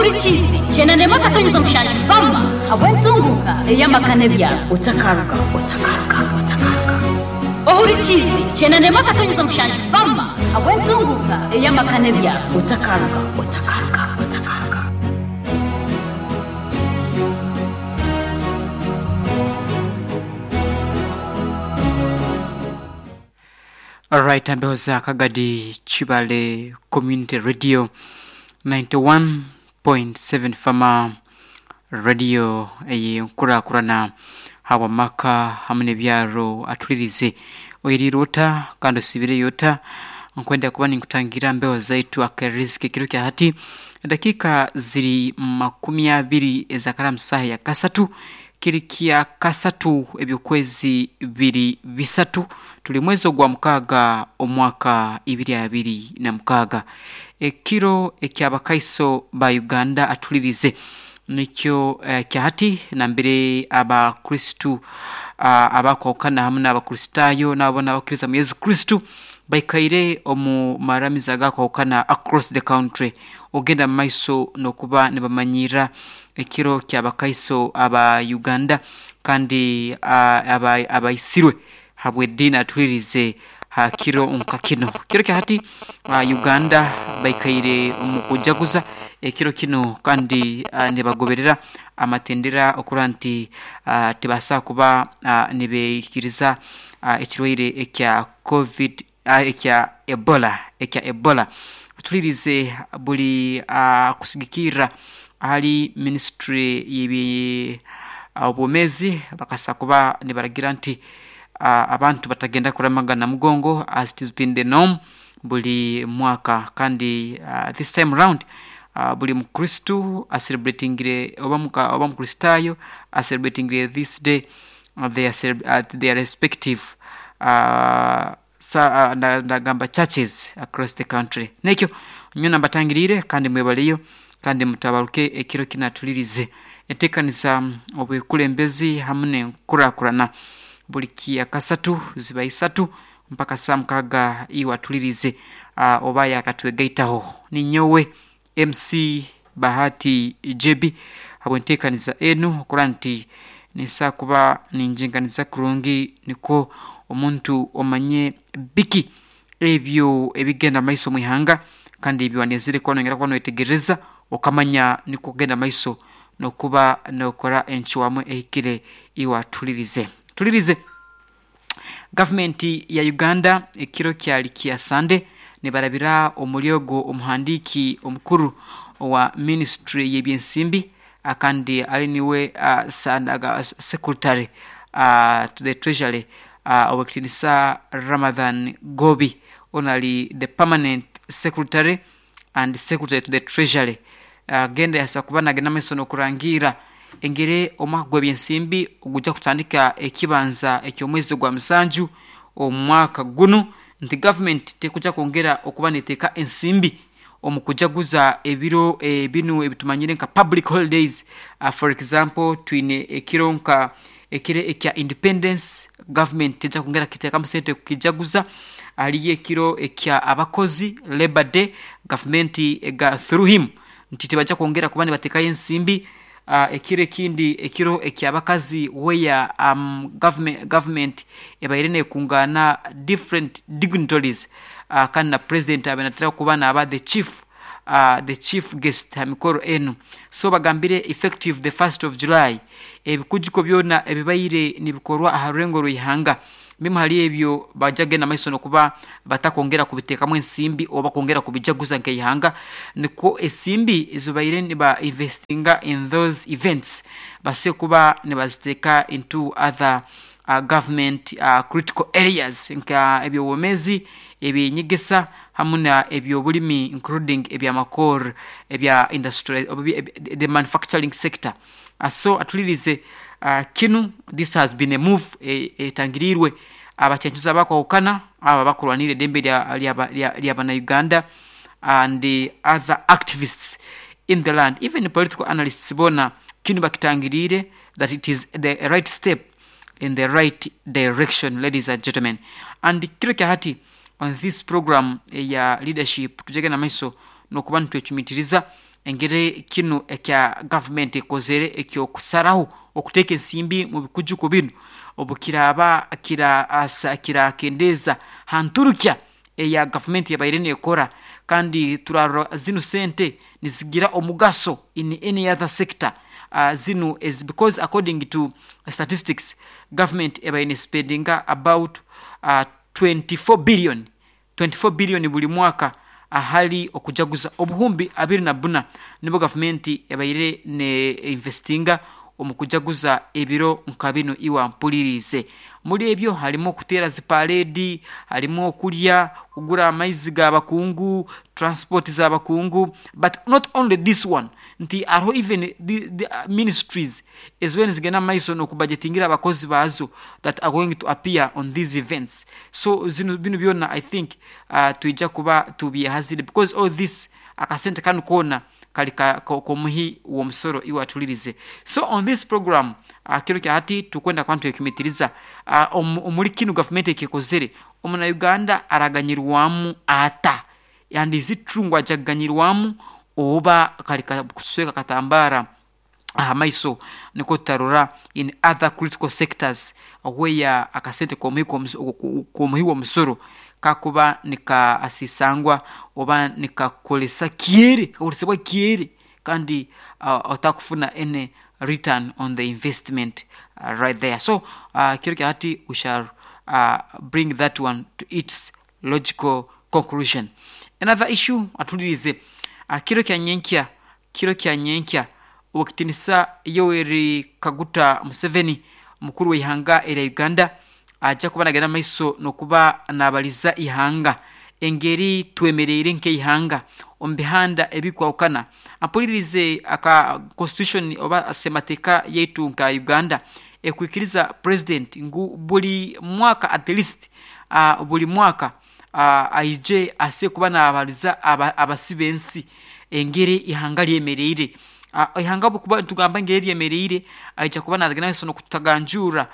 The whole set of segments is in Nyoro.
Ohurikiize kyenda n'emwe akatonyeza mushanju Fama habw'entunguuka ey'amaka n'ebyaro. Otakaruga, otakaruga, otakaruga. Ohurikiize kyenda n'emwe akatonyeza mushanju Fama habw'entunguuka ey'amaka n'ebyaro. Otakaruga, otakaruga, otakaruga. Alright, ambeho Kagadi Chibale Community Radio 91.7 Fama Radio ey'enkurakurana habw'amaka hamwe n'ebyaro atulirize oyiriire ota kandi osiibireyo ota? Nkwenda kuba ninkutangira mbeho zaitu akariziki ekiro kya hati edakika ziri 20 ezakaramu saaha ya kasatu kiri kya kasatu eby'okwezi biri bisatu tuli mwezi ogwa mukaaga omwaka 2026. Ekiro eky'Abakaiso ba Uganda atulirize nikyo kya hati nambere Abakristu abakwahukana hamu n'Abakristaayo n'abo n'abakkiriza mu Yesu Kristu baikaire omu maramizo agakwahukana across the country ogenda mu maiso n'okuba nibamanyirra ekiro ky'Abakaiso aba Uganda kandi abaisirwe habw'eddiini atulirize ha kiro nka kinu. Kiro kya hati Uganda baikaire omu kujaguza ekiro kinu kandi nibagoberera amatendera okurora nti tibasobola kuba nibeikiriza ekirwaire ekya Covid ekya Ebola ekya Ebola. Tulirize buli kusigikirra ahali minisitule y'ebi obwomeezi bakasa kuba nibaragira nti abantu batagenda kuramaga Namugongo as it has been the norm buli mwaka kandi this time round buli mukristu acelebratingire oba mukristaayo acelebratingire this day at their respective ndagamba churches across the country. Nekyo nyowe nambatangiriire kandi mwebaleyo kandi mutabaruke ekiro kinu atulirize enteekaniza obwekulembezi hamu n'enkurakurana buli kya kasatu ziba isatu mpaka saa mukaaga iwe atulirize oba yakatwegaitaho. Ninyowe MC Bahati JB habw'enteekaniza enu okurora nti ninsobola kuba ningyinganiza kurungi nikwo omuntu omanye biki ebyo ebigenda mu maiso omwihanga kandi ebyo wanenzire kuba noyongera kuba noyetegereza okamanya nikwo kugenda mu maiso n'okuba nookora encwamu ehikire iwe atulirize. Tulirize gavumenti ya Uganda ekiro kyali kya Sande nibarabira omuri ogwo omuhandiiki omukuru owa minisitule y'ebyensimbi kandi ali niwe secretary to the treasury ow'ekitiinisa Ramadhan Gobi onu ali the permanent secretary and secretary to the treasury agenda yasobola kuba nagenda mu maiso n'okurangiira engeri omwaka gw'ebyensimbi ogujja kutandika ekibanza eky'omwezi ogwa musanju omu mwaka gunu nti gavumenti tekujja kwongera okuba neteeka ensimbi omu kujaguza ebiro binu ebitumanyire nka public holidays. For example twine ekiro nka ekiro ekya independence gavumenti tejja kwongera kukiteekamu sente kukijaguza, hariyo ekiro ekya abakozi labour day gavumenti ega through him nti tibajja kwongera kuba nibateekayo ensimbi, ekiro ekindi ekiro eky'abakazi where government ebaire neekungaana different dignitaries kandi na president abaire natera kuba naaba the chief guest ha mikoro enu. So bagambire effective the 1st of July ebikujjuko byona ebibaire nibikorwa aha rurengo rw'ihanga bimu hali ebyo bajja kugenda mu maiso n'okuba batakwongera kubiteekamu ensimbi oba kwongera kubijaguza nk'eihanga nikwo ensimbi ezibaire niba investinga in those events basobole kuba nibaziteeka into other government critical areas nka eby'obwomeezi, ebyenyegesa hamu na eby'obulimi including eby'amakoor ebya industry the manufacturing sector. So atulirize kinu this has been a move etangiriirwe abakyencuzi abakwahukana abo abakurwanirra eddembe lya bannayuganda and other activists in the land, even political analysts boona kinu bakitangiriire that it is the right step in the right direction, ladies and gentlemen. And kiro kya hati on this program eya leadership tujagenda maiso n'okuba nitwecumitiriza. Engeri kinu ekya gavumenti ekozere eky'okusaraho okuteeka ensimbi mu bikujuko binu obukiraaba kirakendeeza ha nturukya eya gavumenti ebaire nekora, kandi turarora zinu sente nizigira omugaso in any other sector zinu ezi, because according to statistics government ebaire nespendinga about 24 billion, 24 billion buli mwaka ahali okujaguza obuhumbi abiri na bbuna nibwo gavumenti ebaire ne investinga omu kujaguza ebiro nka binu. Iwe ampuliriize, muri ebyo harimu okuteera zi parade, harimu okurya, kugura amaizi g'abakungu, transport z'abakungu, but not only this one, nti hariho even the ministries ezibaire nizigenda omu maiso n'okubajetingira abakozi baazo that are going to appear on these events. So zinu binu byona I think twija kuba tubyehazire because all this akasente kanu koona kari k'omuhi w'omusoro iwe atulirize. So on this program kiro kya hati tukwenda kuba nitwecumitiriza omuri kinu gavumenti eki ekozere, omuna Uganda araganyirwamu ata? And is it true ngu aija kuganyirwamu oba kari kusweka akatambara aha maiso nikwo tutarora in other critical sectors where akasente k'omuhi w'omusoro kakuba nikasisangwa oba nikakoresa kyere, kakoresebwa kyere kandi otakufuna any return on the investment right there. So kiro kya hati we shall bring that one to its logical conclusion. Another issue atulirize, kiro kya nyenkya, kiro kya nyenkya Owekitinisa Yoweri Kaguta Museveni omukuru w'eihanga erya Uganda aija kuba nagenda mumaiso n'okuba nabaliza eihanga engeri twemereire nk'eihanga omu bihanda ebikwahukana. Ampulirize, aka constitution oba semateeka yaitu nka Uganda ekwikiriza president ngu buri mwaka at least buri mwaka aije aase kuba nabaliza abasi b'ensi engeri eihanga ryemereire. Eihanga obukuba nitugamba engeri ryemereire, aija kuba nagenda mumaiso n'okutaganjuura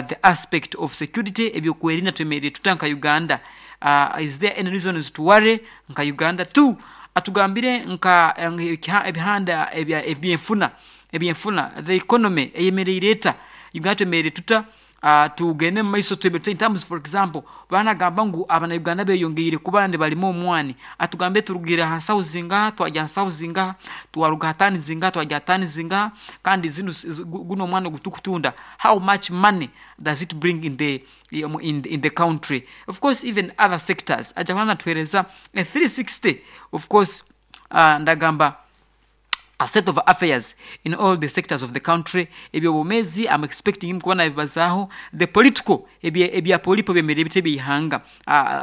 the aspect of security, ebyokwerinda twemereire tuta nka Uganda, is there any reasons to worry nka Uganda? Two, atugambire nka ebihanda ebyenfuna, ebyenfuna, the economy eyemereire eta, Uganda twemereire tuta, tugende omu maiso twemereire tuta in terms, for example baanagamba ngu abana Uganda beyongeire kuba nibarima omwani, atugambire turugire aha nsaho zingaha twagya aha nsaho zingaha, twaruga aha tani zingaha twagya aha tani zingaha, kandi zinu gunu omwani ogu turikutunda how much money does it bring in the in the country? Of course even other sectors aija kuba natuhereza a 360, of course ndagamba a state of affairs in all the sectors of the country. Eby'obwomeezi am expecting him kuba nabibazaaho, the political, ebya polipo byemereire bita eby'eihanga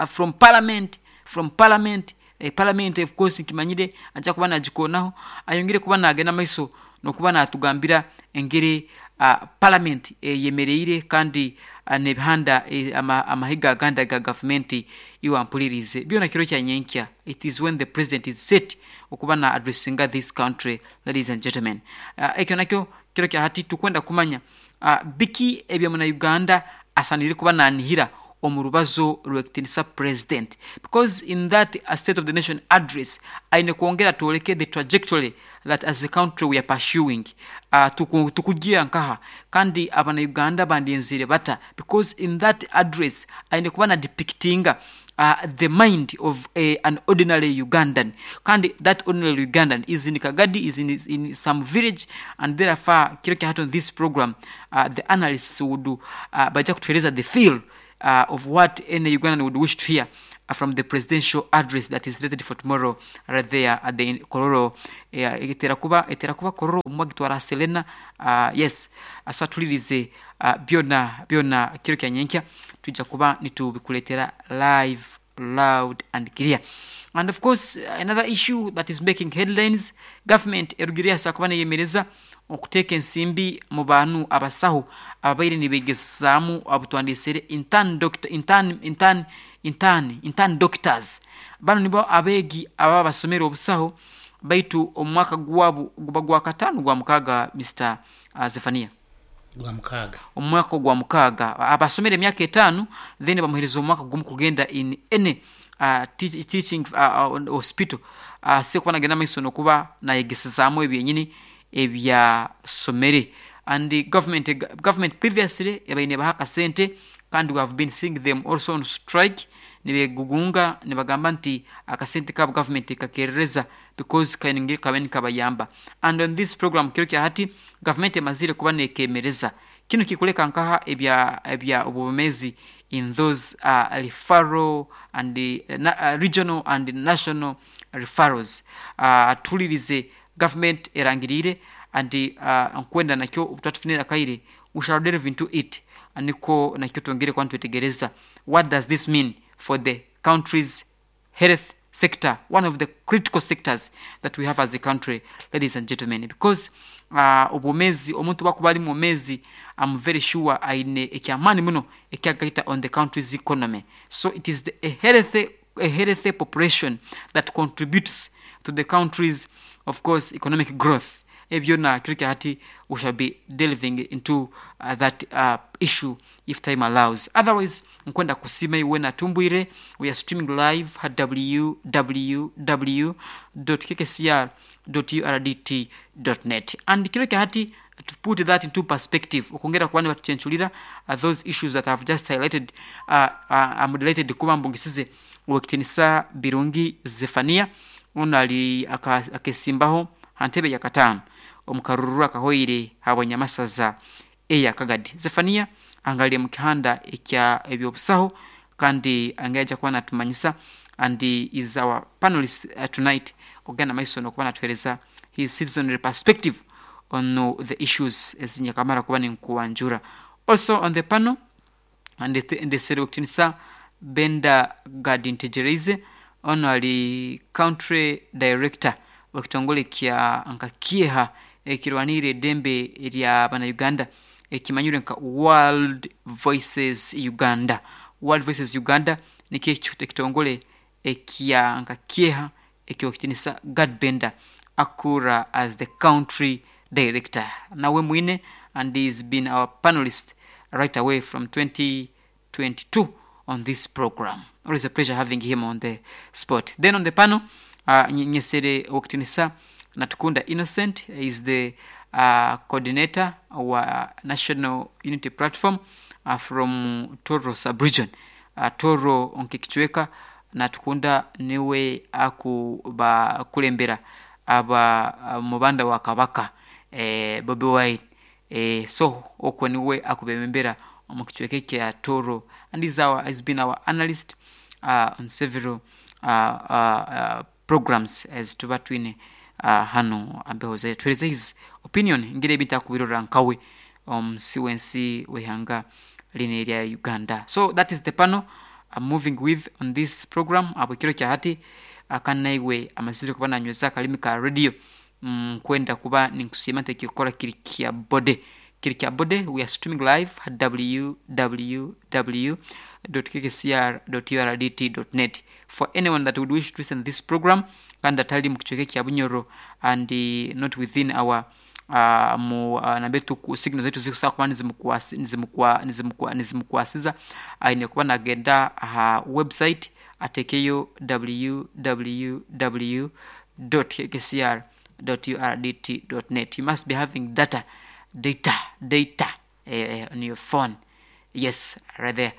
from parliament, from parliament, parliament of course nkimanyire aija kuba nagikoonaho, ayongere kuba nagenda mumaiso n'okuba natugambira engeri parliament eyemereire kandi n'ebihanda amahiga agandi aga gavumenti. Iwe ampuliriize, byona kiro kya nyenkya, it is when the president is set okuba na addressinga this country, ladies and gentlemen. Ekyo nakyo kiro kya hati tukwenda kumanya biki ebi omuna Uganda asanire kuba nanihira omu rubazo rw'ekitinisa president, because in that state of the nation address aine kwongera atworeke the trajectory that as a country we are pursuing, tukugira nkaha kandi abana Uganda bandyenzire bata, because in that address aine kuba na depictinga the mind of an ordinary Ugandan, kandi that ordinary Ugandan is in Kagadi, is in some village, and therefore kiro kya hati on this program the analysts would baija kutuhereza the feel of what any Ugandan would wish to hear from the presidential address that is slated for tomorrow right there at the Kololo. Etera kuba, etera kuba Kololo obumwe agitwara aha Serena, yes. So atulirize byona byona kiro kya nyenkya twija kuba nitubikuletera live, loud and clear. And of course another issue that is making headlines, government erugire yasobola kuba neyemereza okuteeka ensimbi mu bantu abasaho ababaire nibegesaamu abu twandesere intern doctor, intern, intern, intern, intern doctors. Banu nibo abeegi ababa basomere obusaho baitu omu mwaka gwabu guba gwa kataano gwa mukaaga Mister Zephania. Gwa mukaaga. Omu mwaka ogwa mukaaga aba asomere emyaka etaano then bamuhereza omwaka gumu kugenda in any teaching hospital. Asikuba nagenda maiso nokuba nayegesezaamu ebyenyini ebyasomere. And the government previously ebaire nebaha akasente, kandi we have been seeing them also on strike, nibegugunga nibagamba nti akasente kabo government ekakerereza because kaine kabe nikabayamba. And on this program kiro kya hati government emazire kuba nekemereza kinu kikuleka nkaha ebya obwomezi in those referral and regional and national referrals. Tulirize government erangirire and nkwenda nakyo obutatufunira kaire, we shall delve into it, niko nakyo twongere kuba nitwetegereza what does this mean for the country's health sector, one of the critical sectors that we have as a country, ladies and gentlemen, because obwomezi, omuntu bakuba ali mwomezi, I'm very sure aine ekyamaani muno ekyagaita on the country's economy. So it is a healthy population that contributes to the country's, of course, economic growth. Ebyona kiro kya hati we shall be delving into that issue if time allows. Otherwise nkwenda kusima iwe natumbwire. We are streaming live at www.kkcr.urdt.net, and kiro kya hati to put that into perspective, okongera kuba nibatuchenchulira those issues that I've just highlighted, moderated kuba mbungisize owekitinisa Birungi Zephania, ono ali akesimbaho hantebe ya katano omukaruru akahoire habwanyamasaza eya Kagadi. Zephania angalie mukihanda ekya ebyobusaho kandi angaja kuba natumanyisa, and he is our panelist tonight, ogenda maiso nokuba natuhereza his citizenry perspective on the issues ezinyakamara kuba ninkuwanjura. Also on the panel ndesere okutinisa Benda Gadintegereze, ono ali country director wekitongole kya nkakieha ekirwanire eddembe erya bana Uganda ekimanyirwe nka World Voices Uganda. World Voices Uganda nikyo ekitongole ekya nkakieha ekyokitinisa Gad Benda akura as the country director nawe mwine, and he's been our panelist right away from 2022 on this program. Always a pleasure having him on the spot. Then on the panel, Nyesere Okitinisa Natukunda Innocent is the coordinator wa National Unity Platform from Toro sub-region. Toro onkikichweka Natukunda niwe akuba kulembera aba mubanda wa Kabaka Bobi Wine. So okwo niwe akubembera omu kichweka kya Toro, and has been our analyst on several programs as tuba twine hano ambeho zaire. Tuhereze his opinion ngire ebintu akubirora nkawe omusi wensi wehanga lino erya Uganda. So that is the panel I'm moving with on this program. Abo kiro kya hati akanaiwe amazire kuba nanyweza akalimi ka radio, nkwenda kuba ninkusiima nti ekikora kiri kya bode, kiri kya bode. We are streaming live at www.kkcr.urdt.net for anyone that would wish to listen to this program kandi atali mu kichweka kya Bunyoro and not within our mu nambetu signal zetu zikusobola kuba nizimukwasiza, aine kuba nagenda aha website atekeyo www.kkcr.urdt.net. You must be having data on your phone. Yes, right there.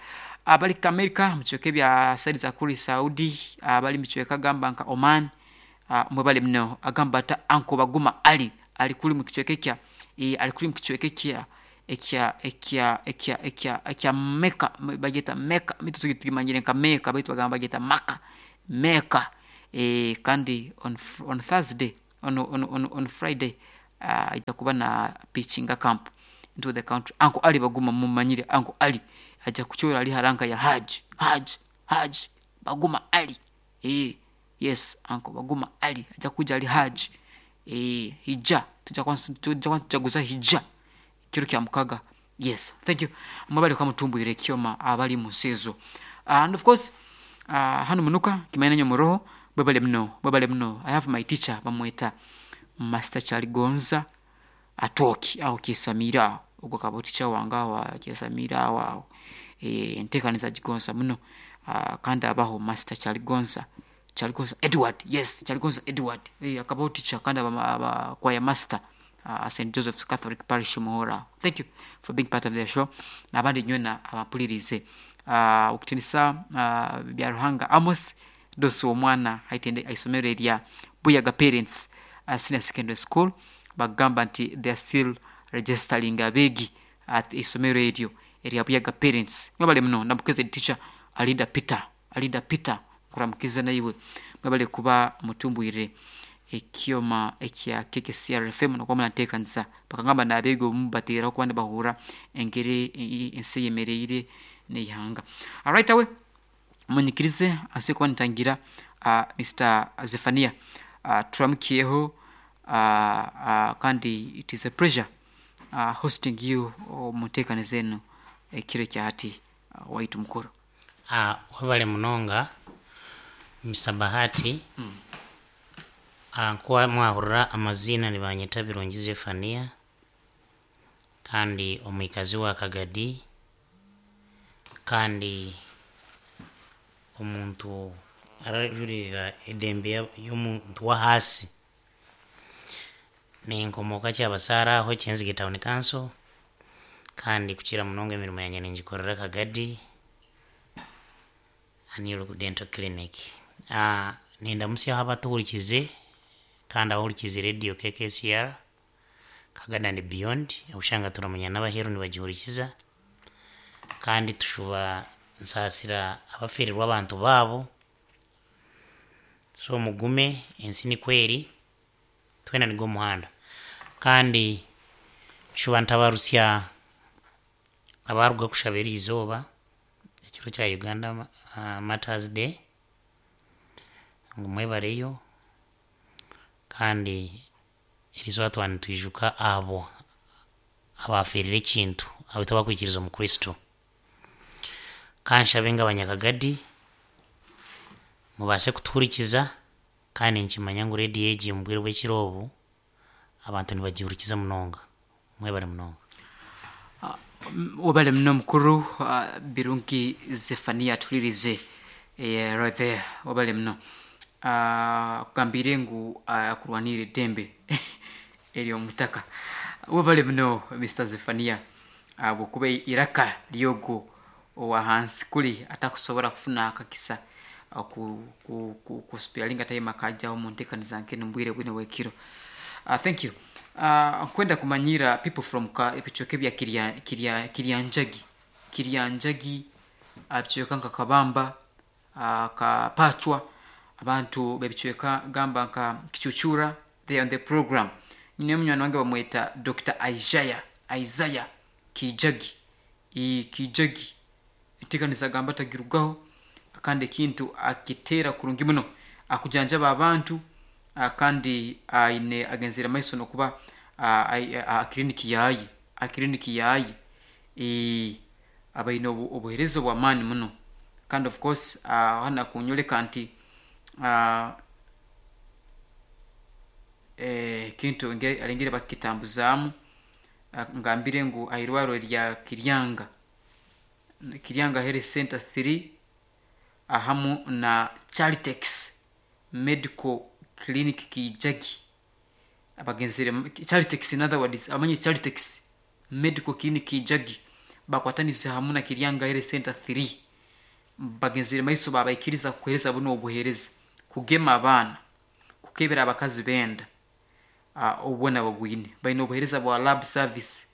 Abali ka America mukichweka ebya side za kuri Saudi, abali mukichweka agamba nka Oman, mwebale muno agamba ata anko Baguma Ali ali kuli mukichweka ekya ali kuli mukichweka ekya ekya ekya ekya ekya ekya Mecca, bageta Mecca, mitu tukimanyire nka Mecca baitu bagamba bageta Maka Mecca. Kandi on Thursday on Friday itakuba na pitching camp into the country. Anko Ali Baguma mumanyire, Anko Ali aja kuchora ali haranka ya Haj Haj Haj Baguma Ali. Yes, Anko Baguma Ali aja kuja ali Haj hija tuja kwanza hija kiro kya mukaga. Yes, thank you mwabali kwa mutumbwire kyoma abali musezo. And of course hano munuka kimaina nyo muroho bwebale mno, bwebale mno. I have my teacher bamweta Master Chaligonza atoki au kisamira ogwo kaba teacher wange awo kisamira awo enteekaniza gigonza muno, kandi abaho Master Chaligonza. Kyaligonza Edward, yes, Kyaligonza Edward. Akabaho teacher kandi aba choir master St Joseph's Catholic Parish Muhora. Thank you for being part of the show. N'abandi nywena abampulirize. Okutinisa bya Ruhanga Amos Dosi omwana haitende aisomero erya Buyaga Parents Senior Secondary School, bagamba nti they are still registering abeegi at isomero eryo erya Buyaga Parents. Mwebale muno, ndamukize teacher Alinda Peter, Alinda Peter, nkuramukize naiwe. Mwebale kuba mutumbwire ekyoma ekya KKCR FM nokuba muranteekanisa bakagamba n'abeegi obumu bateeraho kuba nibahurra engeri ensi eyemereire n'eihanga. Right away munyikirize ase kuba nitangira Mr. Zephania, turamukyeho, kandi it is a pleasure hosting you omu nteekaniza enu ekiro ekya hati, waitu mukuru. Webale munonga Mr. Bahati. Nkuba mwahurira amaziina, nibanyeta Birungi Zephania kandi omwikazi wa Kagadi kandi omuntu arajurira edembe y'omuntu w'ahaasi. Ninkomoka Kyabasaara aho Kyenzige Town Council, kandi kukira munonga emirimo yangye ningikorera Kagadi New Dental Clinic. Nindamusyaho abatuhurikize kandi abahurikize radio KKCR Kagadi and beyond, obushanga turamanya n'abaheeru nibagihurikiza, kandi tushuba nsaasira abafiirirwe abantu baabo. So mugume, ensi nikweri, twena nigwo muhanda. Kandi nshuba ntabarusya abaruga kushaba eriizooba ekiro kya Uganda Martyrs Day, ngu mwebareyo, kandi eriizooba twaba nitwijuka abo abafiirire ekintu abitu abakwikiriza omu Kristo. Kanshabe ng'abanyakagadi mubaase kutuhurikiza, kandi ninkimanya ngu rediyo egi omu bwire bw'ekiro obu abantu nibagihurikiza munonga. Mwebale munonga. Wabale muno mukuru, Birungi Zephania atulirize, right there. Wabale muno, kugambire ngu akurwanire eddembe ery'omutaka. Wabale muno Mr. Zephania, bwokuba iraka lyogwo owahansi kuli atakusobora kufuna akakisa kuspialinga time akajaho mu nteekaniza nk'enu mu bwire bwino bw'ekiro. Thank you. Nkwenda kumanyira people from ka ebicweka ebya Kiryanjagi, Kiryanjagi, ebicweka nka Kabamba, Kapachwa, abantu b'ebicweka gamba nka Kichuchura, they are on the program. Nyine munywani wange bamweta Dr. Isaiah, Isaiah Kijagi, Kijagi, enteekaniza gamba tagirugaho, kandi ekintu akiteera kurungi muno akujanjaba abantu, kandi aine agenzere maiso nokuba akiriniki yaye, akiriniki yaye abaine obuheereza obw'amaani muno. Kandi of course hanu akunyoleka nti ekintu arengere bakitambuzaamu, ngambire ngu airwaro erya Kiryanga, Kiryanga Health Center 3 ahamu na Charitex Medical Clinic Kijagi, abagenzere Charitex, in other words amanyi Charitex Medical Clinic Kijagi bakwatanize hamu na Kiryanga Health Center 3, bagenzere maiso babaikiriza kuhereza buno obuhereza kugema abaana, kukebera abakazi benda, obwona bwine baine obuhereza bwa lab service,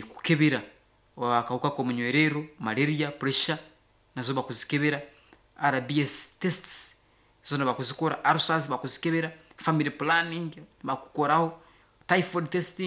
kukebera akawuka k'omunywerero, malaria, pressure nazo bakuzikebera, RBS tests zona bakuzikora, ulcers bakuzikebera, family planning bakukoraho, typhoid testing.